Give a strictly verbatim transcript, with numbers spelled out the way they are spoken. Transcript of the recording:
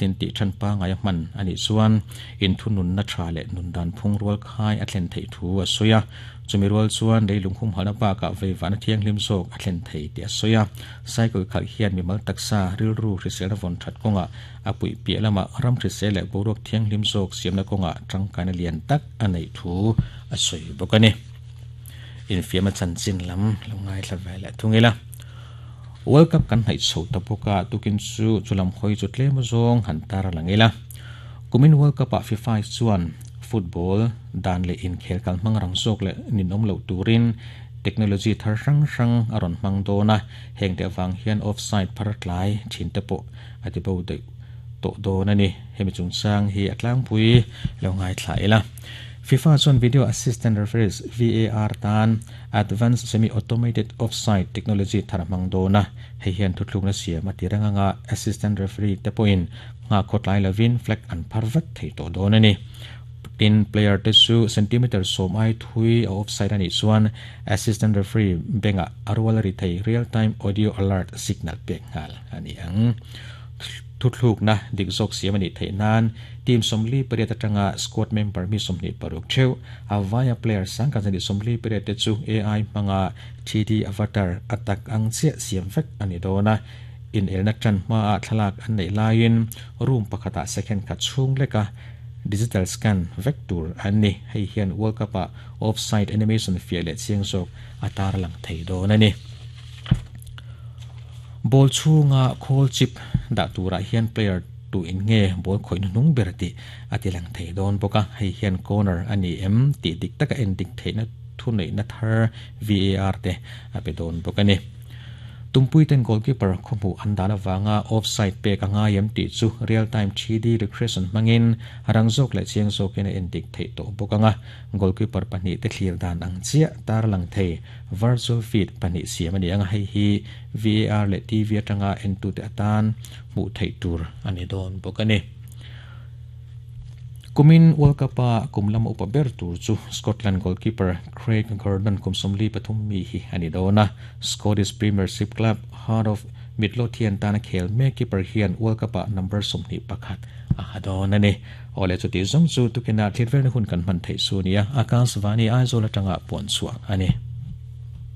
Nitin ti than pa ngai man ani chuan in thunun na tha le nun dan phung rual khai a thlen thei thu a soya chumi rual chuan leilung hum hana pa ka veivan thiang hlim zawk a thlen thei ti a soya cycle khal hian mi mal taksa rilru hrisel von that konga apui pi lama ram hrisel le boruak thiang hlim zawk siamna konga tangkaina lian tak anei thu a soi bokani in fiama chanchin lam longai thlavel thungila World Cup kan hai chho tapoka tukin chu chulam hoi chu tlem zawng han tar langila kumin World Cup a FIFA chuan football dan le in khel kal mangrang zawk le ninom lo turin technology thar rang rang aron mang dona heng te awang hian offside pharatlai thin te po ati bo de to dona ni hemi chungchang hi atlang pui lo ngai thlaila FIFA chuan video assistant referees V A R tan advanced semi-automated offside technology thar mang dona hei hian thuthlukna siam a tiranga assistant referee te pawhin nga khotlai lovin flag an pharvat thei to dona ni tin player te chu centimeter som ai thui a offside ani chuan assistant referee benga arwal ri thei real time audio alert signal pek ngal ani ang thuthluk na dik zok siam ani thei nan team somli pariat atanga squad member mi somni paruk theu awaya player sang kan ni somli pariat te chu A I manga three D avatar attack ang che siam vek ani dona in elna tran ma a thalak an nei lain room pakhata second kha chung leka digital scan vector ani hei hian World Cup a offside animation fiale chiang zawk atar lang thei don ani ball chunga khol chip da tura hian player tu in nge ball khoi nung ber ti ati lang thei don boka hei hian corner ani em ti dik taka en dik theina thu nei na thar V A R te ape don bokani tumpui ten goalkeeper khomu andana wanga offside pe ka nga yem ti chu real time three D regression mangin rangzok le chiang zawk in en dik thei to bokanga goalkeeper pahnih te thlir dan ang chia tar lang thei virtual feed pahnih siam ani anga hei hi V A R le T V atanga en tu te atan mu thei tur ani don bokani kumin World Cup a kumlam upa ber tur chu Scotland goalkeeper Craig Gordon kumsomli pathum mi hi ani dona Scottish Premiership club Heart of Midlothian tana khel me keeper hian World Cup a number somni pakhat a hadon ani ole chu ti zong chu tukina thirvel hun kan man thei sunia Akashvani Aizawl atanga pon chua ani.